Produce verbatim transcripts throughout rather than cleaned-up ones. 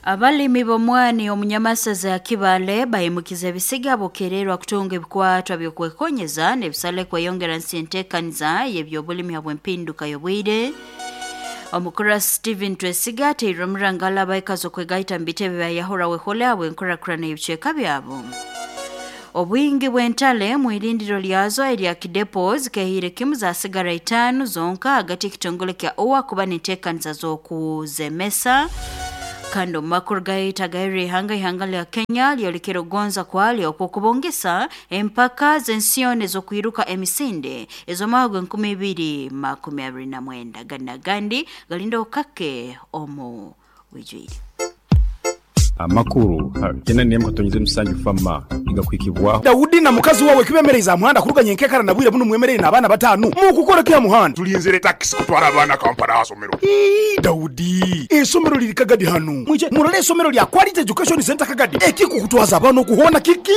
Abalimi b'omwani omunyamasaza ya Kibale bayimukiza ebisiga bokererwa kutunga ebikwatwa byokwekonyeza n'ebisale kweyongera nsentekaniza y'ebyobulimi habw'empinduka y'obwire. Omukura Stephen Twesiga ateirwe omurangala abaikazi okwegaita mu bitebe bya Yahura Wehole habw'enkurakurana y'ebicweka byabo. Obwingi bw'entale mwirindiro lyazo erya Kidepo zikehire kimu zasigara itaano zonka hagati y'ekitongole kya O W A kuba n'enteekaniza z'okuzemesa. Kandi omu makuru gaitu agahera ihanga, ihanga lya Kenya lyolekere okugonza kwalyo okw'okubongesa empaka z'ensiyoni ez'okwiruka emisinde ez'omwaka gw'enkumi ibiri makumi abiri na mwenda. Gani n'agandi galinda okake omu bwijwire. Amakuru kenda nemu katonyeze musanju fama igakwikibwaho. Dawudi na mukazi wawe kibemereza muhanda kuruganya enkekara na bwire buno mwemerere n'abaana batanu mukukora kya muhanda. Tulinzire takisi kutwara abaana Kampala asomero. Ii, Dawudi, esomero liri Kagadi hano, mwije murole esomero lya Quality Education Center Kagadi. Ekikukutwaza abaana okuhona kiki?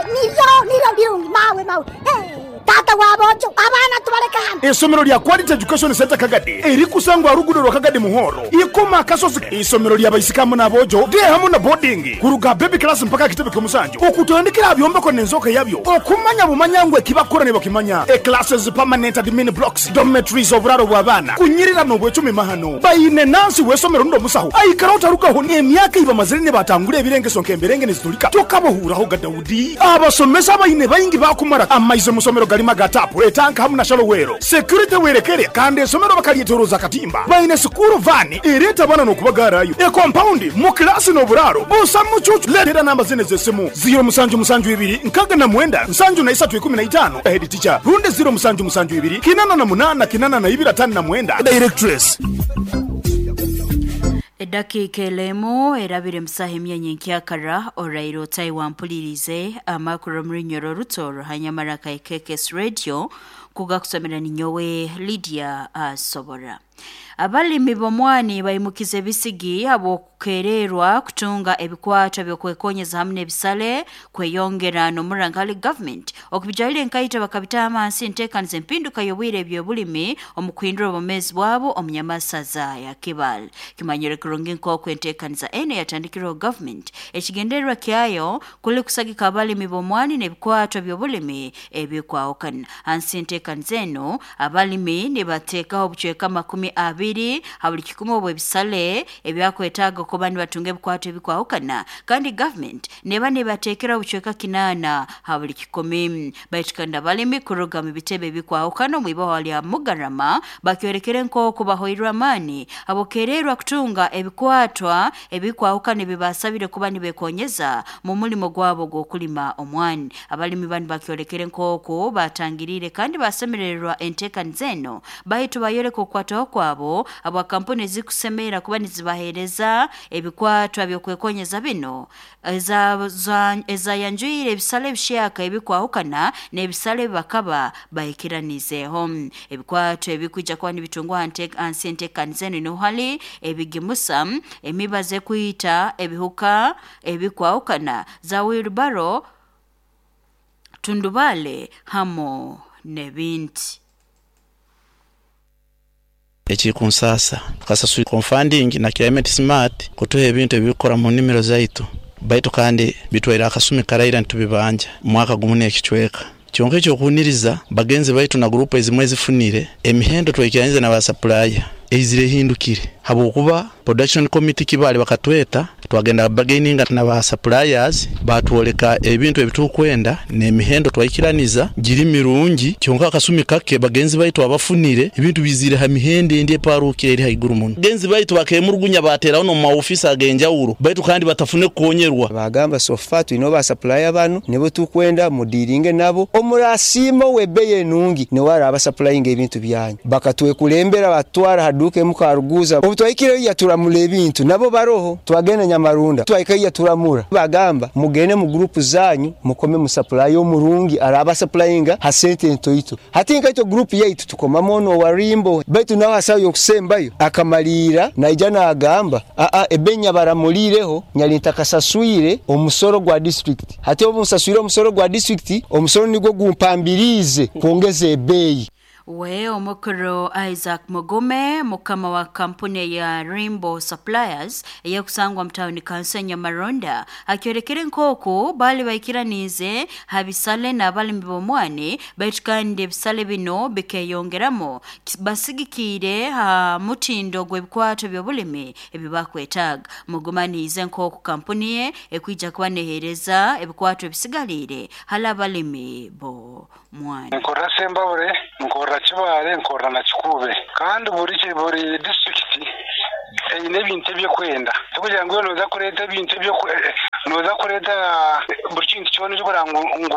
Niryo niryo birungi mawe mawe. Eh, tata wabojo abaana tubaleka hano. Esomero lya Quality Education Center Kagadi erikusangwa rugudo rwa Kagadi Muhoro ikoma akasozi, isomero lya baisikamu n'abojo de hamu na boarding kuruga baby class mpaka kitebe ky'omusanju, okutandikira byombeko n'enzoka yabyo okumanya bumanya ngwe kibakora ne bakimanya e classes, permanent admin blocks, dormitories, oburaro bw'abaana kunyirira n'obwecumi mahano bayine nansi w'esomero ndo musaho aikara utarukaho emyaka ibamazire ne batangura ebirengeso nk'emberenge nezitulika tokabohuraho ga Dawudi. Abasomesa bayine bayingi bakumara amaize musomero galima gatapu etanka hamu na shalowero security werekere, kandi esomero bakalyetoroza katimba. Bayine school van ereta bana n'okubagarayo e compound mu klasi n'oburaro busa mucucu. Letera namba zine z'essimu ziro musanju musanju ibiri nkaga na mwenda nsanju na isatu ikumi na itano head teacher, rundi ziro musanju musanju ibiri kinana na munana kinana na ibiri atano na mwenda directress. Edakiika elemu erabire musaha emyanya enkyakara oraire otayi wampulirize amakuru omurunyoro rutoro hanyamara ka K K S Radio kugakusomera ninyowe Lydia Asobora. Abalimi b'omwani bayimukiza ebisigi habw'okukererwa kutunga ebikwatwa byokwekonyeza hamu n'ebisale kweyongera n'omurangali government okubijaire enkaito bakabitaha amansi enteekaniza empinduka y'obwire ebyobulimi omu kuhindura obwomeezi bwabo omunyamasaza ya Kibale. Kimanyire kurungi nk'oku enteekaniza eno yatandikirweho government, ekigendererwa kyayo kuli kusagika abalimi b'omwani n'ebikwatwa by'obulimi ebikwahukana. Hansi enteekaniza eno abalimi nibateekaho obucweka makumi abiri ha buli kikumi obw'ebisale ebyakwetaaga okuba nibatunga ebikwatwa ebikwahukana, kandi government neba nibateekera obucweka kinaana ha buli kikumi. Baitu kandi abalimi kuruga mu bitebe ebikwahukana omu ibahwa lya Mugarama bakyorekere nk'oku bahoirwe amaani abokererwa kutunga ebikwatwa ebikwahukana ebibasabire kuba nibekonyeza mu mulimo gwabo gw'okulima omwani. Abalimi banu bakyolekere nk'oku batangiriire kandi basemererwa enteekaniza eno, baitu bayoleka okukwataho kwabo abwa kampuni ezikusemerera kuba nizibaheereza ebikwatwa byokwekonyeza bino ezayanjwire ebisale ebishyaka ebikwahukana n'ebisale bakaba bahikiranizeeho. Ebikwatwa ebikwija kuba nibitungwa hansi enteekaniza eno niho hali ebigimusa, emibazi ekwita ebihuka ebikwahukana, za wheelbarrow, tundubale hamu n'ebindi. Ekikunsasa tukasasura funding na Climate Smart kutuha ebintu ebikora mu nimiro zaitu, baitu kandi bitwaire akasumi karaira ntubibanja mwaka gumu n'ekicweka. Kyonka ekyokuniriza bagenzi baitu na group ezimwe ezifunire emihendo twaikiranyize na basupplier eizire ehindukire, habwokuba production committee Kibale bakatweta twagenda bargaining na ba suppliers, batwoleka ebintu ebitukwenda n'emihendo twaikiraniza giri mirungi. Kyonka akasumi kake bagenzi baitu abafunire ebintu bizire ha mihendo endi eparukire eri haiguru muno. Bagenzi baitu bakemurugunya bateraho no mu maofisi agenjawulo, baitu kandi batafune kukonyerwa. Bagamba so far tulina ba supplier bano nibo tukwenda mudiringe nabo, omurasiima w'ebbeeyi enungi niwe araba supplying ebintu byanyu. Bakatwekulembera batwara haduka emu Karuguza, obu twahikireyo yaturamura ebintu nabo baroho. Twagenda Nyamarunda, twahikayo yaturamura, bagamba mugende mu group zanyu mukome mu supply omurungi araba supplyinga ha sente ntoito. Hati nkaito group yaitu tukomamu ono warimbo, baitu nawe hasayo yokusembayo akamalira naija nagamba aa ebenya baramulireho nyali ntakasaswire omusoro gwa district. Hati obu nsaswire omusoro gwa district, omusoro nigwo gumpambirize kwongeza ebbeeyi. We omukuru Isaac Mugume mukama wa kampuni ya Rainbow Suppliers eyakusangwa mtauni Kansenya Maronda akyorekere nkoko bali baikiranize habisale na abalimi bomwani baitu kandi ebisale bino bikeyongeramo basigikire ha mutindo gw'ebikwato by'obulimi ebibakwetaga. Mugumanize nkoko kampuni ye ekwija kuba nehereza ebikwato ebisigalire hala abalimi bo mwani. Nkorra Sembabure, nkorra Kibale, nkorra na Kikube kandi buri buri district eine ebintu ebyokwenda tukugira ngu noza kureta ebintu ebyo noza kureta buri kintu kyona ekikora ngu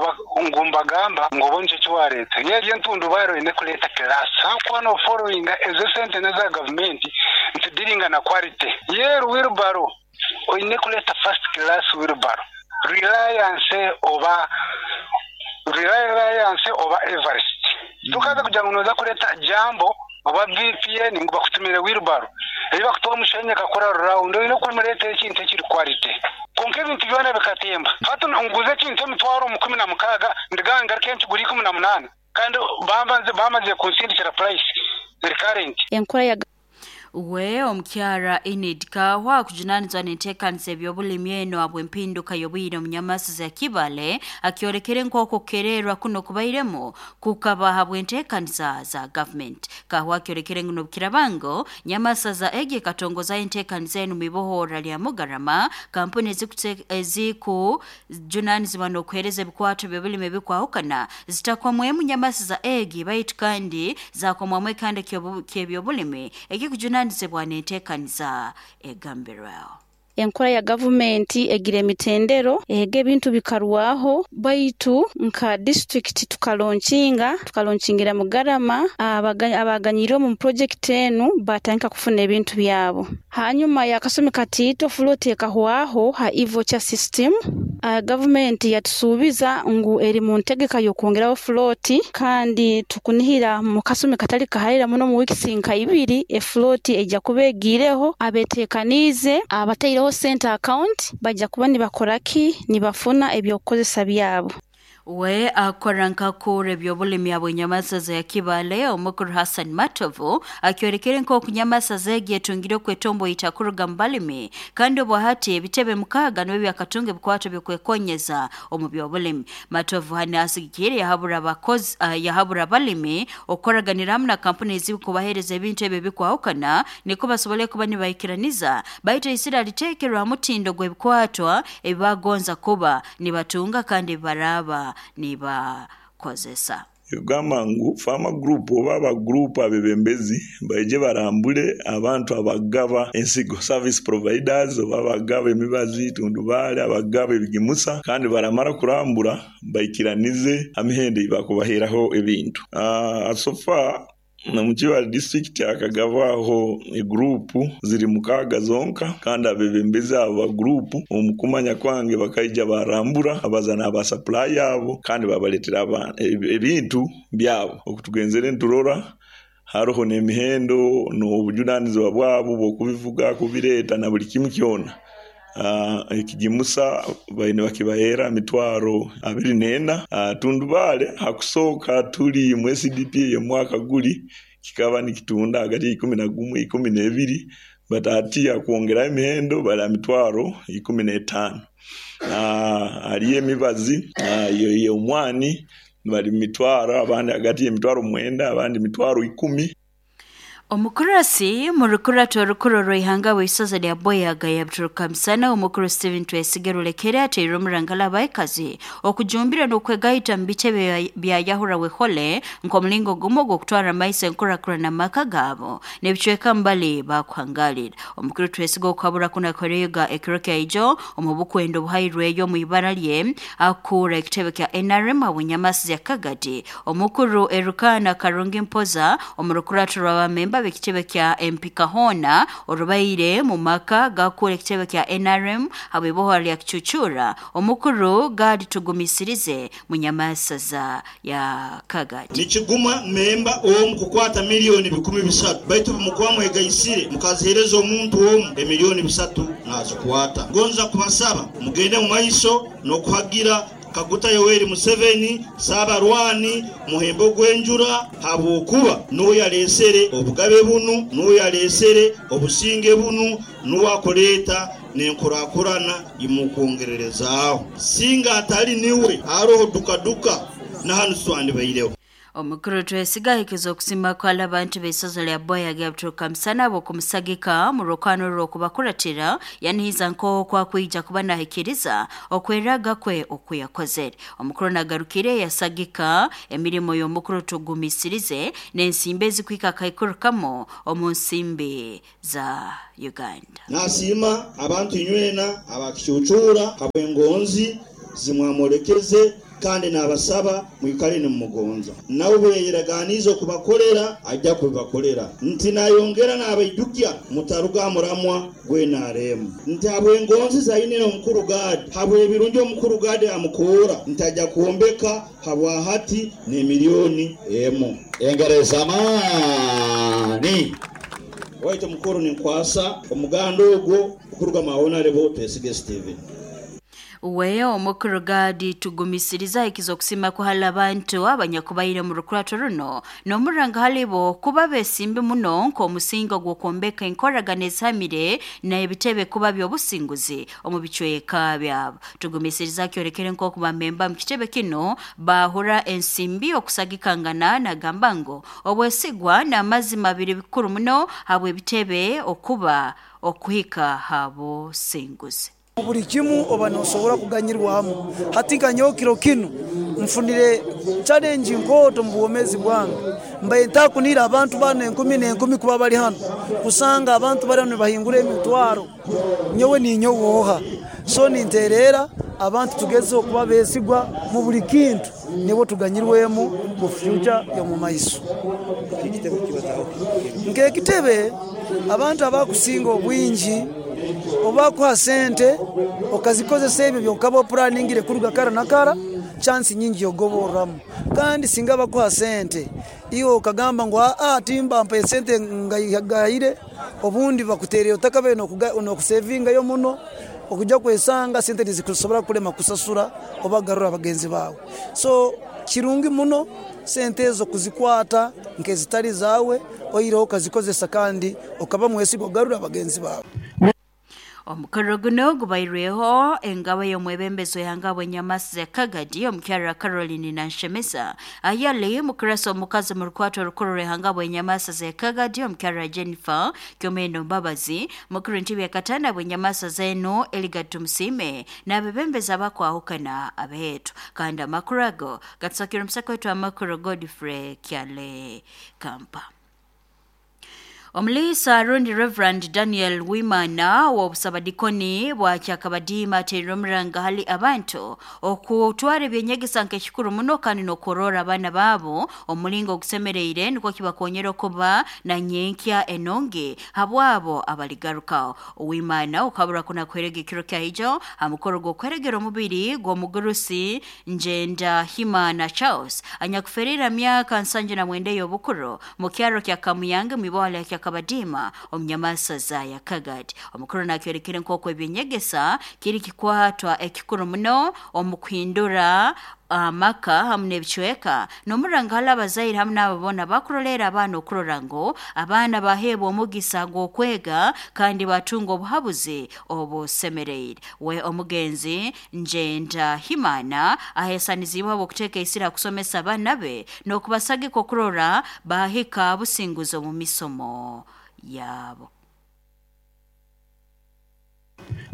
ngu mbagamba ngu obone eki wareta yeri entundu bairo ine kureta class hakuba no following ezo sente neza government ntidiringa na quality yeru wheelbarrow oine kureta first class wheelbarrow Reliance oba Reliance oba Everest tukaza kugira ngu noza kureta jambo oba V P N ngu bakutumire wheelbarrow ebi bakutuwa omushenye kakora round oine kumureta ekintu ekiri quality konka ebintu byona bikatemba hati nguze ekintu emitwaro mu kumi na mukaaga ndiganga kenshi guri ikumi na munana kandi bambanze bamaze kunsindikira price the current enkora ya We omukyara Enid Kahwa kujunanizwa n'enteekaniza eby'obulimi eno abw'empinduka y'obwire omu nyamasi za Kibale akyorekere nk'oku kukererwa kuno kubairemu kukaba habw'enteekaniza za government. Kahwa akyorekere ngu n'obukirabango nyamasa za egi ekatongoza enteekaniza eno mu ibohora lya Mugarama kampuni ezikujunanizibwa n'okuheereza ebikwato by'obulimi ebikwahukana zitakomwemu nyamasi za egi baitu kandi zakomwamu ekanda ky'ebyobulimi ekikujunanizibwa nzibwa n'enteekaniza egambirwaho. Enkora ya gavumenti egira emitendero ehega ebintu bikarwaho baitu nka district tukalonkinga tukalonkingira Mugarama abaganyire omu project enu batandika kufuna ebintu byabo. Hanyuma yakasumi katito float ekahwaho ha e-voucher system. Uh, gavumenti yatusuubiza ngu eri mu ntegeka y'okwongeraho float kandi tukunihira mu kasumi katali kaharira muno mu weeks nka ibiri e float ejja kuba egiireho abeteekaniize abataireho center account bajja kuba nibakoraki nibafuna ebyokukozesa byabo. We akora nkakura ebyobulimi abwenyamasa za Kibale omukuru Hassan Matovu akyorekere nk'oku nyamasa zegi etungire okwetombo itakuruga mu balimi kandi obwahati ebitebe mukaaga nibyo byakatunga ebikwato byokwekonyeza omu byobulimi. Matovu hane asigikire yahabura abakozi uh, yahabura abalimi okukoraganira hamwe na kampuni ezikubahereza ebintu ebyo bikwahukana niko basobole kuba nibaikiraniza baitu isira liteekerwa mutindo gw'ebikwatwa ebibagonza kuba nibatunga kandi baraba nibakozesa. Kugamba ngu farmer group oba aba group abebembezi baije barambule abantu abagaba ensigo service providers oba abagaba emibazi tundubale abagaba ebigimusa kandi baramara kurambura baikiranize amihende ibakubaheraho ebintu. Uh, so far na mukiwa district akagavaho group ziri mukaga zonka kandi abebembezi aba group omukumanya kwange bakaija barambura abazana aba supply yabo kandi babaletera ebintu byabo okutugenzere nturora haroho n'emihendo n'obujunanizibwa bwabo bw'okubivuga kubireta na buli kimu kyona. Uh, ekigimusa baine bakibahera mitwaro abiri nena. uh, tundubale hakusooka tuli mu S D P y'omwaka guli kikaba nikitunda hagati ikumi na gumu ikumi n'ebiri but ati akwongera emihendo bala mitwaro ikumi n'etaano. uh, aliyo emibazi uh, y'omwani bali mitwaro abandi hagati y'emitwaro mwenda abandi mitwaro ikumi. Omukurasi murukurato orukuro rw'ihanga w'isoza lya Boyaga yabituruka misana omukuru Steven Twesige Rulekere ateire omurangala abaikazi okujumbira n'okwegaita mu bitebe bya Yahura Wehole nk'omulingo gumu ogw'okutwara amaiso enkurakurana amaka gaabo n'ebicweka mbali bakuhangalira. Omukuru Twesige okukabura kunakorega ekiro kyaijo omu bukwendo obuhairweyo omu ibara lye akura ekitebe kya N R M abunyamasi ya Kagadi. Omukuru Erukana Karungi Mpoza omurukurato rw'abamemba ekitebe kya M P Kahona orubaire mu maka gakura ekitebe kya N R M abibohora lya Kichuchura omukuru Gadi Tugumisirize munyamasaza ya Kagadi. Nikiguma memba omu kukwata milioni bikumi bisatu baitu mukwamwe gaisire mukazihereza omuntu omu emilioni bisatu nazikwata. Gonza kubasaba mugende mu maiso n'okuhagira Kaguta Yoweri Museveni Sabarwani muhembo gwenjura habwokuba nuwe yalesere obugabe bunu, nuwe yalesere obusinge bunu, nuwe akoleta nenkurakurana imukongererezaaho. Singa atali niwe aroho dukaduka na hanu swandi baireho. Omukuru twesiga okusima kwa abantu b'eisozo lya Boya gabturuka musana bo kumusagika mu rukano rw'okubakuratira yanihiza nko kwa kwija kuba nahikiriza okweraga kwe okuyakozere. Omukuru nagarukire yasagika emirimo y'omukuru tugumisirize n'ensimbi ezikwika kaikurukamo omu nsimbi za Uganda. Nasima abantu inywena abakicucura habwengonzi zimwamolekeze kandi nabasaba mwikale ni mugonza nawe bweyiraganizo kubakolera ajja kubakolera nti nayongera nabaidukya mutaruga muramwa gwe naremu nti abwengonzi zainene omukuru gadi habwe ebirungi omukuru gadi amukura ntajja kuombeka habwa hati ne milioni emo engereza mani waito mukuru ni nkwasa omugando ogwo okuruga maona lebo Twesige Steven. Uwe omukuru gadi tugumisiriza ikizo kusima kuhala abantu abanyakubaire mu rukurato runo n'omuranga halibo kuba besimbi muno nk'omusingo gw'okwombeka enkoragana ezihamire n'ebitebe kuba by'obusinguzi omu bicweka byabo. Tugumisiriza kyorekere nk'oku bamemba mu kitebe kino bahura ensimbi okusagikangana nagamba ngo obwesigwa n'amazima biri bikuru muno habwe ebitebe okuba okuhika habusinguzi. Buli kimu oba nosobora kuganyirwamu hati kanyokiro kinu mfunire challenge nkoto mu buwomezi bwange mbaye ntakunira abantu bana enkumi n'enkumi kuba bali hano kusanga abantu bali hano bahingura emitwaro nyowe ninyowoha so ninterera abantu tugeze okuba besigwa mu buli kintu nibo tuganyirwemu mu future yo mu maiso. Nk'ekitebe abantu abakusinga obwingi obakuha sente okazikozesa ebyo byokaba oplaningire kuruga kara na kara chance nyingi yogoboramu kandi singa bakuha sente iyo okagamba ngo a timba mpa sente ngayire obundi bakutereye otakabe no kusevinga yo muno okujja kwesanga sente zikusobora kulema kusasura obagarura abagenzi bawe. So kirungi muno sente ezo kuzikwata nkezitali zawe oyireho okazikozesa kandi okaba mwesigo garura abagenzi bawe. Omukoro guno gubairweho engaba y'omwebembezo yangabo nyamasi za Kagadi omukyara Caroline Nanshemesa ayali mukurasa omukazi mu rukwato rukuru rehangabo nyamasi za Kagadi omukyara Jennifer Kyomeno Mbabazi mukuru ntibi yakatana bwenyamasa zeno Eligatu Musime n'abebembeza bakwahukana abetu kandi amakuru gatsakira omusako wetu amakuru Godfrey Kyale Kampa. Omulisa Rundi Reverend Daniel Wimana wa obusabadikoni bwa Kyakabadiima ateerera omuranga hali abantu okutwara ebyenyegesa nk'ekikuru muno kandi n'okurora abaana baabo omulingo ogusemereire nikwo kibakonyera okuba na nyenkya enonge habwabo abaligarukaho. Wimana okabura kuna kwerega ekiro kya hamukoro gw'okweregera omubiri gw'omugurusi Njenda Himana Charles anyakuferera myaka nsanju na mwenda y'obukuru mu kyaro kya Kamuyange mu ibwala kya Kabadima omnyamasa za ya Kagadi. Omukuru nakyorekere nk'oku ebyenyegesa kiri kikwatwa ekikuru muno omukuhindura amaka hamwe n'ebicweka n'omuranga hali abazaire hamwe n'ababona bakurolera abaana okurora ngo abaana baheebwa omugisa gw'okwega kandi batunga obuhabuzi obusemereire. We omugenzi Njenda Himana aheesanizibwe okuteeka esira kusomesa abaana be n'okubasagika okurora bahika businguzi omu misomo yabo.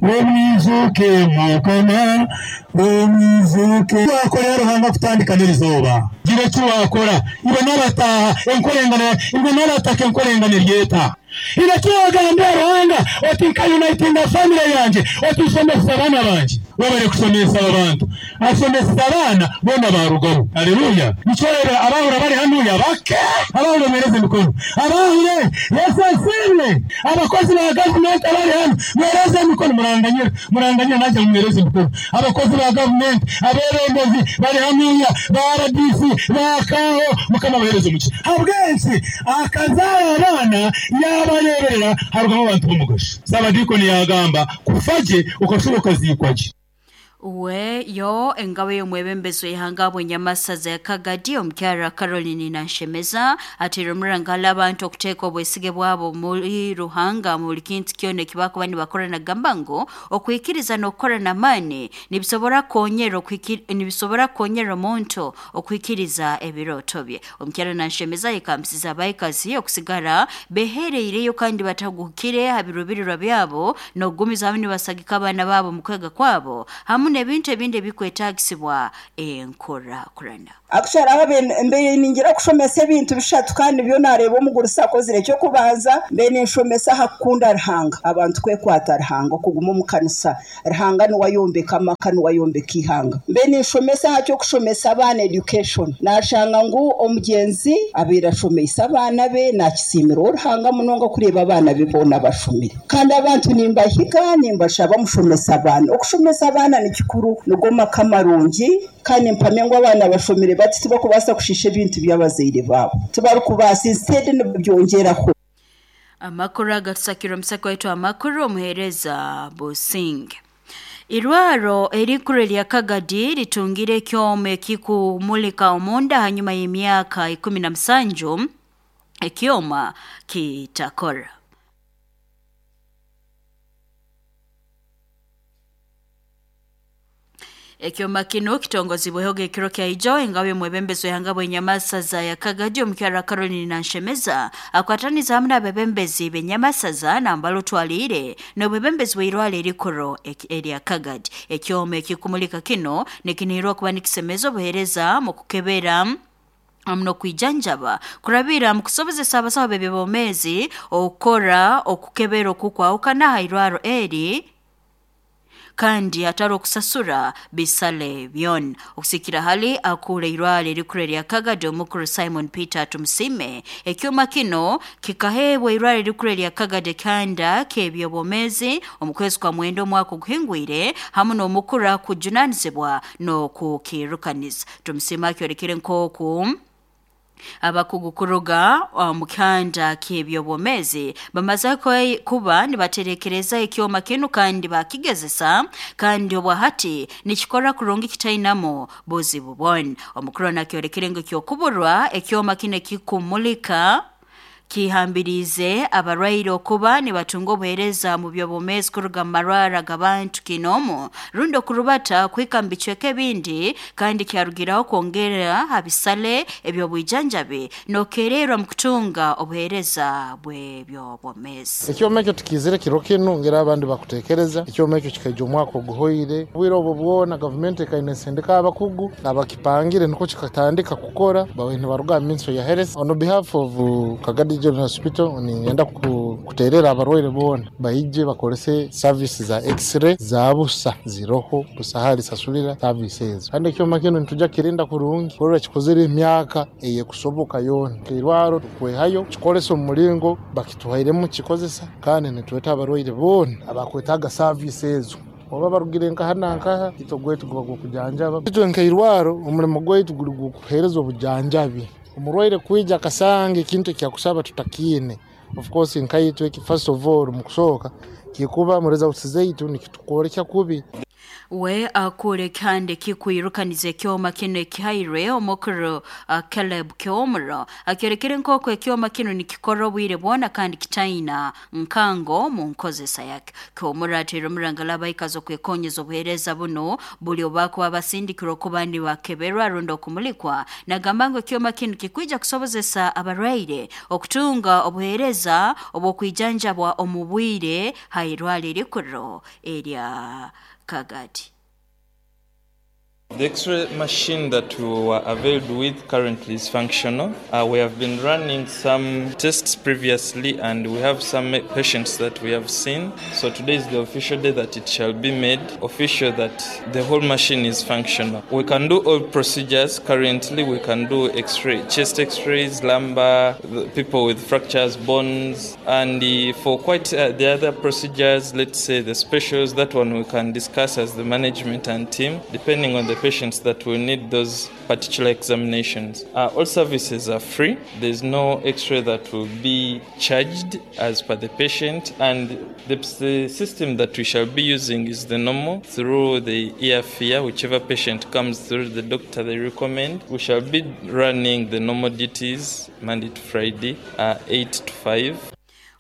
Wemwizuke mukama wemwizuke wakora Ruhanga kutandika n'irizoba gira icyo wakora ibe n'abataha enkorengana ibe n'abataka enkorengana ryeta iracyagambira Ruhanga oti nka uniting family yanje oti usomesa abana banje wabare kusomesa abantu asomesa abana bona barugaho. Haleluya. Nichorera abahura bari hanuya bake abahura mereze mikono abahure Yesu asimwe abakozi ba government abari hano mereze mikono muranganyira muranganyira naje mumereze mikono abakozi ba government aberembezi bari hanuya ba R D C bakaho mukama bahereze muki habwensi akazara abana yabareberera harugamo abantu b'umugasho. Sabadikoni yagamba kufaje ukashoboka zikwaje. We yo engabo y'omwebembezi w'ihanga bw'enyamasaza ya Kagadi omukyara Caroline Nanshemeza atera omurangala abantu okuteeka obwesige bwabo muri Ruhanga mu buli kintu kyona ekibakuba nibakora nagamba ngu okwikiriza n'okukora n'amaani nibisobora kukonyera nibisobora kukonyera omuntu okwikiriza ebirooto bye. Omukyara Nanshemeza yekambisiza abaikazi okusigara behereireyo kandi bataguhukire ha birubirirwa byabo n'okugumiza hamwe nibasagika abaana baabo mu kwega kwabo hamu n'ebintu ebindi ebikwetagisibwa enkurakurana. Akushara abe mbe ningira kushomesa ebintu bishatu kandi byo nareba omugurisa akozire cyo kubanza mbe ninshomesa hakunda Ruhanga abantu kwekwata Ruhanga okuguma mu kanisa Ruhanga ni wayombeka amaka ni wayombeka ihanga mbe ninshomesa hacyo kushomesa abana education nashanga ngu omugenzi abira shomesa abana be nakisimira Ruhanga munonga kureba abana be bona bashomire kandi abantu nimbahiga nimbashaba mushomesa abana okushomesa abana ni kikuru nugoma kamarungi kandi mpamye ngo abana bashomire bati tibakubasa kushisha ebintu by'abazaire babo tibarukubasa instead nibyongeraho. Amakuru agatusakira omusako waitu amakuru omuhereza Businge. Irwaro erikuru lya Kagadi litungire ekyoma ekikumulika omunda hanyuma y'emyaka ikumi na musanju ekyoma kitakora. Ekyoma kino kitongozibweho ekiro kya ijo engabe mwebembezi w'ihanga bw'enyamasaza ya Kagadi omukyara Caroline Nanshemeza akwataniza hamwe n'abebembezi b'enyamasaza nambalo twalire n'obwebembezi bw'irwaro erikuru erya Kagadi. Ekyoma ekikumulika kino nikinihirwa kuba nikisemeza obuheereza mu kukebera muno kwijanjaba kurabira mu kusobozesa abasawo b'ebyobwomeezi okukora okukebera okukwahukana ha irwaro eri kandi atari okusasura bisale byona. Okusikira hali akura irwaro erikuru erya Kagadi omukuru Simon Peter Tumusime ekyoma kino kikaheebwa irwaro erikuru erya Kagadi kanda k'ebyobwomeezi omu kwezi kwa mwenda omwaka oguhingwire hamwe n'omukuru akujunanizibwa n'okukirukaniza. Tumusime akyorekire nk'oku abakugu kuruga mu kanda k'ebyobwomeezi bamaze kuba nibaterekereza ekyoma kinu kandi bakigezesa kandi obwahati nikikora kurungi kitainamo buzibu bwona. Omukuru nakyorekire ngu ekyokuburwa ekyoma kinu ekikumulika kihambirize abarwaire okuba nibatunga obuheereza mu byobwomeezi kuruga mu marwara g'abantu kinomu rundi okurubata kuhika mu bicweka ebindi kandi kyarugiraho kwongera ha bisale eby'obwijanjabi n'okererwa mu kutunga obuheereza bw'ebyobwomeezi. Ekyoma ekyo tukizire kiro kinu ngera abandi bakutekereza ekyoma ekyo kikaija omwaka oguhoire bwire obwo bwona gavumenti ekaine esindika abakugu abakipangire niko kikatandika kukora bawe nibaruga mu Ministry ya Health. On behalf of Kagadi General Hospital ningenda kuterera abarwaire bona baije bakolese services za x-ray za busa ziroho busahali sasulira services kandi ekyoma kino nituja kirinda kurungi korora kikozere emyaka eye kusoboka yona kirwaro tukwehayo kikolesa omulingo bakituhairemu kikozesa kandi nitweta abarwaire bona abakwetaga services oba barugire nkaha nankaha itogwetu guba gukujanjaba itwe nkairwaro omulimo gwaitu guri gukuhereza obujanjabi omurwaire kwija akasange ekintu ekyakusaba tutakiine. Of course nkaitwe first of all mukusooka kikuba mu results zaitu nikitukorekya kubi. We akure kandi kikwirukaniza ekyoma kino ekihairwe omukuru uh, Caleb Kyomuro akyorekere nk'oku ekyoma kino nikikora obwire bwona kandi kitaina nkango mu nkozesa yake. Kyomuro ateera omurangala abaikazi okwekonyeza obuheereza buno buli obakuba basindikirwa okuba nibakeberwa rundi okumulikwa nagamba ngu ekyoma kino kikwija kusobozesa abarwaire okutunga obuheereza obw'okwijanjabwa omu bwire ha irwaro erikuru erya Kagadi. The X-ray machine that we were availed with currently is functional. Uh, we have been running some tests previously and we have some patients that we have seen. So today is the official day that it shall be made official that the whole machine is functional. We can do all procedures currently. We can do X-ray, chest X-rays, lumbar, people with fractures, bones, and the, for quite uh, the other procedures, let's say the specials, that one we can discuss as the management and team, depending on the patients that will need those particular examinations. Uh, all services are free. There's no x-ray that will be charged as per the patient, and the, the system that we shall be using is the normal through the E F I A, whichever patient comes through the doctor they recommend. We shall be running the normal duties Monday to Friday, uh, eight to five.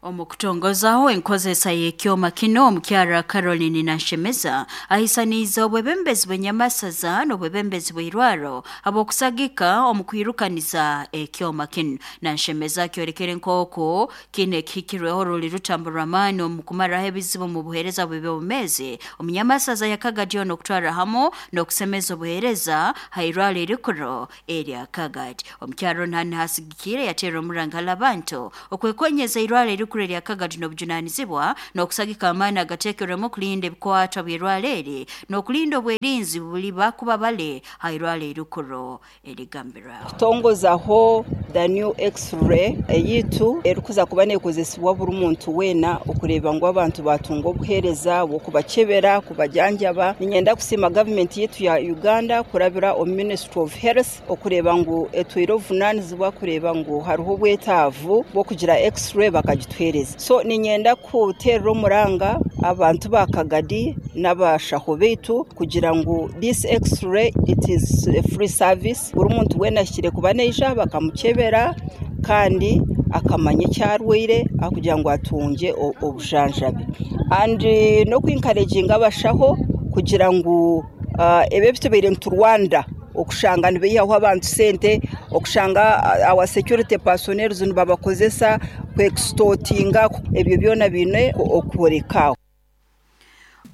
Omukutongozaho enkozesa y'ekyoma kino omukyara Caroline Nashemeza ahisaniza obwebembezi bw'enyamasaza n'obwebembezi bw'irwaro abokusagika omukwirukaniza ekyoma kino. Nashemeza kyorekere nk'oko kino ekihikirweho ruli rutambo rw'amaani omukumaraho ebizibu mu buheereza bw'ebyobumezi omunyamasaza ya Kagadi ono okutwara hamu n'okusemeza obuheereza hairwaro erikuru erya Kagadi. Omukyara ono hanu hasigikire yateera omurangala abantu okwekonyeza irwaro erikuru erya Kagadi n'obujunanizibwa n'okusagika amaani agateekerwemu okulinda ebikwatwa by'irwaro eri n'okulinda obwerinzi buli bakuba bale hairwaro erikuru erigambirwa. Kutongozaho the new x-ray eyitu erikuza kuba nekozesibwa buri muntu wena okureba ngu abantu batunga obuheereza bw'okubakebera kubajanjaba. Ninyenda kusiima gavumenti yitu ya Uganda kurabira omu Ministry of Health okureba ngu etwire obuvunanizibwa kureba ngu hariho obwetaavu bw'okugira x-ray bakagituhereza. So ninyenda kuterera omuranga abantu ba Kagadi n'abashaho beitu kugira ngu this x-ray it is a free service, buri muntu wena ashikire kuba neija bakamukebera kandi akamanya ekyarwaire akugira ngu atunge obujanjabi. And n'okuencouraginga abashaho kugira ngu uh, ebyo bitubeire ntu Rwanda okushanga nibihaho abantu sente, okushanga our security personnel nibabakozesa kwextortinga, ebyo byona bine okurekaho.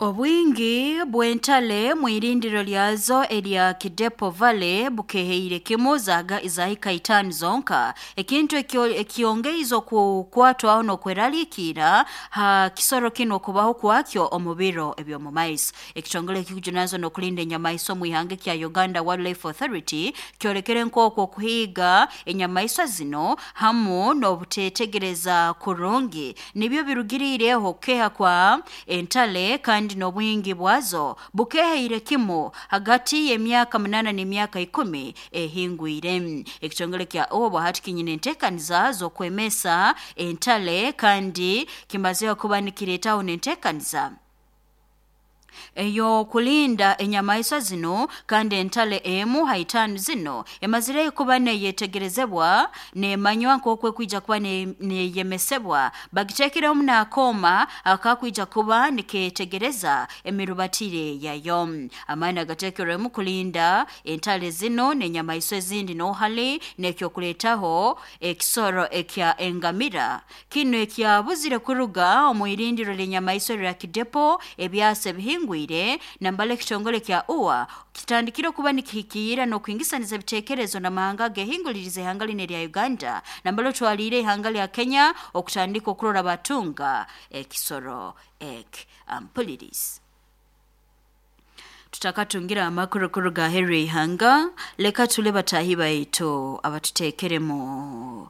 Obwingi bw'entale mwirindiro lyazo erya Kidepo Valley bukeheire kimu zaga izahika itano zonka, ekintu ekyongeizo kukwatwaho n'okweralikira ha kisoro kino kubaho kwakyo omu biro eby'omu maiso. Ekitongole ekikujunaanizibwa n'okulinda enyamaiswa mu ihanga kya Uganda Wildlife Authority kyolekere nk'okwo okuhiiga enyamaiswa zino hamu n'obuteetegereza kurungi nibyo birugiriireho okukeha kwa entale kandi n'obwingi bwazo bukeheire kimu hagati y'emyaka munana n'emyaka ikumi ehingwire. Ekitongole kya obo hati kinyine enteekaniza z'okwemesa entale kandi kimazeho kuba nikireetaho n'enteekaniza eyo kulinda enyamaiswa zino, kandi entale emu haitano zino emazire kuba neyetegerezebwa nemanywa nk'okwe kwija kuba neyemesebwa bagitekere n'akoma akakwija kuba niketegereza emirubatire yayo. Amaani agatekerwemu kulinda entale zino n'enyamaiswa ezindi n'ohali n'ekyokuleetaho ekisoro ekya engamira kino ekyabuzire kuruga omu irindiro ly'enyamaiswa lya Kidepo ebyasa ebihingwire. Nambale ekitongole kya U A kitandikire kuba nikihikiira n'okwingisaniza ebiteekerezo n'amahanga agehinguliriza ihanga line lya Uganda nambale otwaliire ihanga lya Kenya okutandika okurora batunga ekisoro ek ampulirizi. Tutakatungira amakuru kuruga Henry ihanga, leka tule batahi baitu abatuteekeremu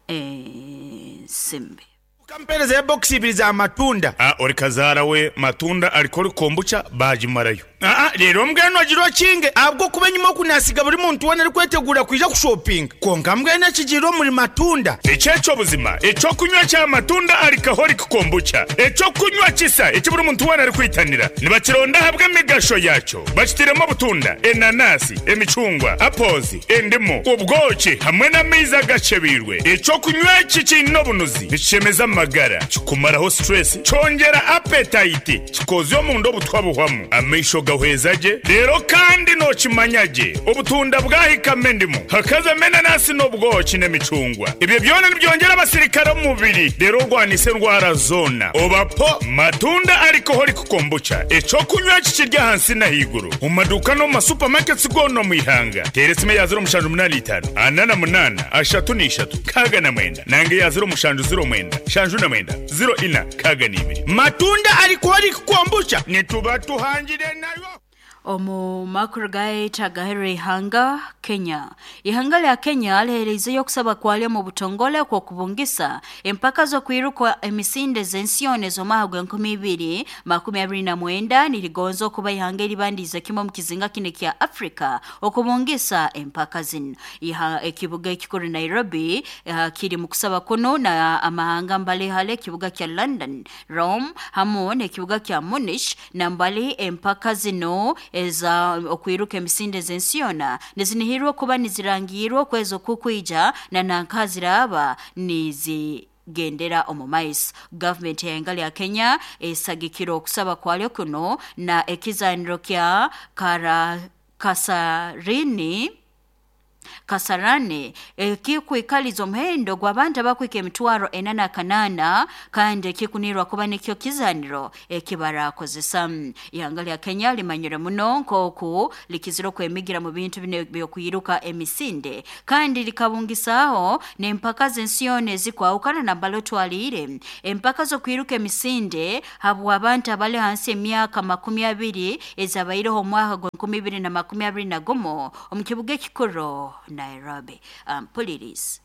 ensimbi. Kampereza ya box ibiri za matunda. Ah, ori kazara we matunda alikori kombucha bajimarayo. Ah ah, rero mbweno agiro kinge abwo kuba nyuma kunasiga buri muntu wana ari kwetegura kwija ku shopping. Konka mbweno kigiro muri matunda. Echecho buzima, echo kunywa cha matunda alikahori kombucha. Echo kunywa kisa, echo buri muntu wana ari kwitanira. Nibakironda habwe migasho yacho. Bakitiremo butunda, enanasi, emicungwa, apozi, endimu, ubwoki hamwe n'amaizi gachebirwe. Echo kunywa kikino bunuzi. Nichemeza magara, kikumaraho stress, cyongera appetite, kikozyo omundu obutwabuhwamu. Amaisho gahwezaje, rero kandi no kimanyaje. Obutunda bwahikame endimu, hakaza menanasi n'obwoki n'emicungwa. Ibyo byona nibyongera abasirikare mu mubiri, rero rwanise ndwara zona. Obapo matunda alcoholic kombucha. Echo kunywa kikirya hansi na higuru. Mu maduka no mu supermarkets gono mu ihanga. Teresime ya zero mushanju munani itanu, anana munana, ashatu n'ishatu, kaga na mwenda. Nange ya zero mushanju zero mwenda, shanju na mwenda, zero ina, kaga n'ibiri. Matunda alcoholic kombucha nituba tuhangire nayo. Omu makuru gaita gahere ihanga Kenya. Ihanga lya Kenya lihereizeyo okusaba kwalyo mu butongole kwa kubungisa empaka z'okwiruka emisinde z'ensione z'omwaka gw'enkumi ibiri makumi abiri na mwenda nirigonza okuba ihanga eribandize kimwe omu kizinga kino kya Afrika okubungisa empaka zino. Iha ekibuga ekikuru Nairobi uh, kiri mu kusaba kuno na amahanga mbalihale ekibuga kya London, Rome hamu n'ekibuga kya Munich na mbali empaka zino eza okwiruka emisinde z'ensiona nizinihirwa kuba nizirangirwa okwezi okukwija na nankaziraba nizi gendera omu maiso. Gavumenti y'ihanga lya Kenya esagikira okusaba kwalyo kuno na ekizaniro kya kara Kasarini Kasarani ekikwikaliza omuhendo gw'abantu abakwika emitwaro ena na kanana kandi ekikunirwa kuba nikyo kizaniro ekibarakozesa. Ihanga lya Kenya limanyire muno nk'oku likizire okwemigira mu bintu bino by'okwiruka emisinde kandi likabungisaaho n'empaka z'ensione ezikwahukana na mbali otwaliire empaka z'okwiruka emisinde habw'abantu abali hansi emyaka makumi abiri ezabaireho omwaka gw'enkumi ibiri na makumi abiri na gumu omu kibuga ekikuru Nairobi. Um, Pulirizi.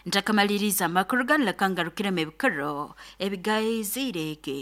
Ntakamaliriza amakuru ganu leka ngarukiremu ebikoro ebigaizirege.